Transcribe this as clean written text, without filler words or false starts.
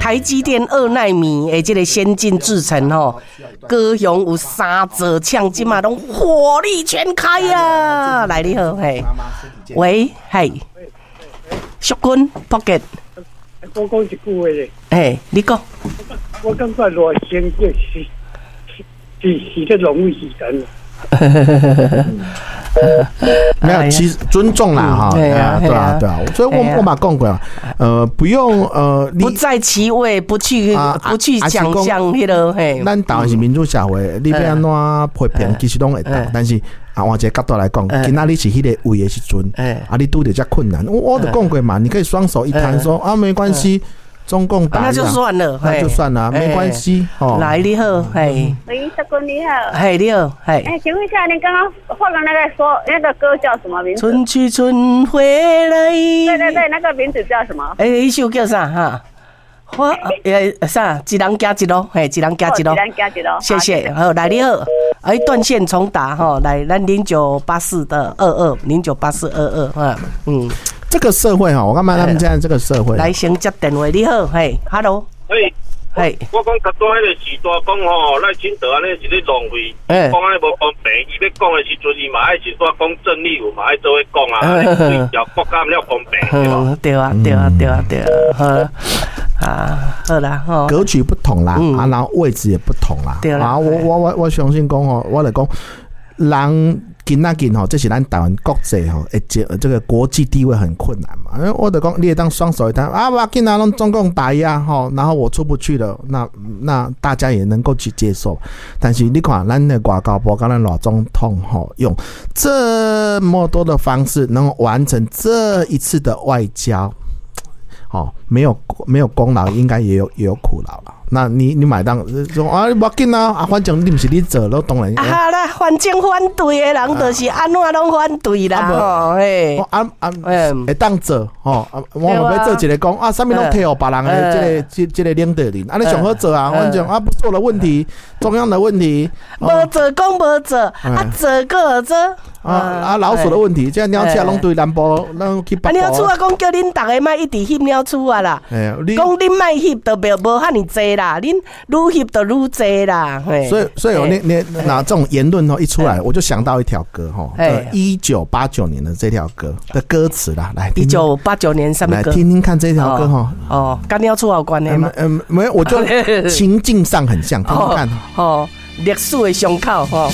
台積電2納米的這个先進製程吼，高雄有三座廠，這馬攏火力全開啊！來，你好，嘿，喂，嘿，淑君，Pocket，我講一句話咧，嘿，你講，我感覺賴清德是咧浪費時間。沒有，其實尊重啦，哈，對啊，對啊，對啊，所以我嘛講過，不用，不在其位，不去想象彼個，嘿。咱台灣是民主社會，你欲按怎批評，其實攏會當，但是啊，換一個角度來講，今仔你是彼個位的時陣，啊，你拄著遮困難，我就講過嘛，你可以雙手一攤說啊，沒關係。中共打那就算了，那就算了，沒關係。哦，來，你好，嘿，喂，小哥你好，嘿，你好，嘿。哎，請問一下，您剛剛放的那個說那個歌叫什麼名字？春去春回來。對對對，那個名字叫什麼？哎，彼首叫啥？哈，我啥？一人行一路，嘿，一人行一路。一人行一路。謝謝。好，來你好，哎，斷線重打哈，來，咱0984的22，098422，哈，嗯。這個社會哈，我感覺他們現在這個社會？來，先接電話，你好，嘿，Hello，嘿，嘿，我講頭拄彼個時代講吼，賴清德按呢是咧浪費，講按呢無公平，伊欲講的時陣，伊嘛愛是煞講鄭麗文嘛愛做伙講啊，對條國家了公平，對無？對啊，對啊，對啊，對啊，好啊，好啦，吼，格局不同啦，啊，然後位置也不同啦，對啦，啊，我相信講吼，我來講，人。今仔日吼，這是咱台灣國際吼，會這個國際地位很困難嘛。因為我就講，你會當雙手一攤啊，無要緊啊，攏中共打壓吼，然後我出不去了，那大家也能夠去接受。但是你看，咱的外交部佮咱賴總統吼，用這麼多的方式，能夠完成這一次的外交，哦，沒有功勞，應該也有苦勞了。那你買當說啊，無要緊啊，啊，反正你毋是你做，攏當然。啊啦，反正反對的人就是按怎攏反對啦，吼嘿。啊啊，會當做吼，我嘛欲做一个講啊，啥物攏推予別人的這个這個領導人，啊，你上好做啊，反正啊，不做的問題，中央的問題。無做講無做，啊做閣做。啊啊，老鼠的問題，這鳥鼠攏對南部，攏去北部。啊，鳥鼠啊，講叫恁逐个莫一直翕鳥鼠啊啦。講恁莫翕，就袂無遐爾濟啦，恁愈翕就愈濟啦。所以你拿這種言論哦一出來，我就想到一條歌哈，1989年的這條歌的歌詞啦，來。1989年啥物歌？來聽聽看這條歌哈。哦，佮鳥鼠有關係嗎？嗯，沒有，我就情境上很像，聽聽看。哦，歷史的傷口吼。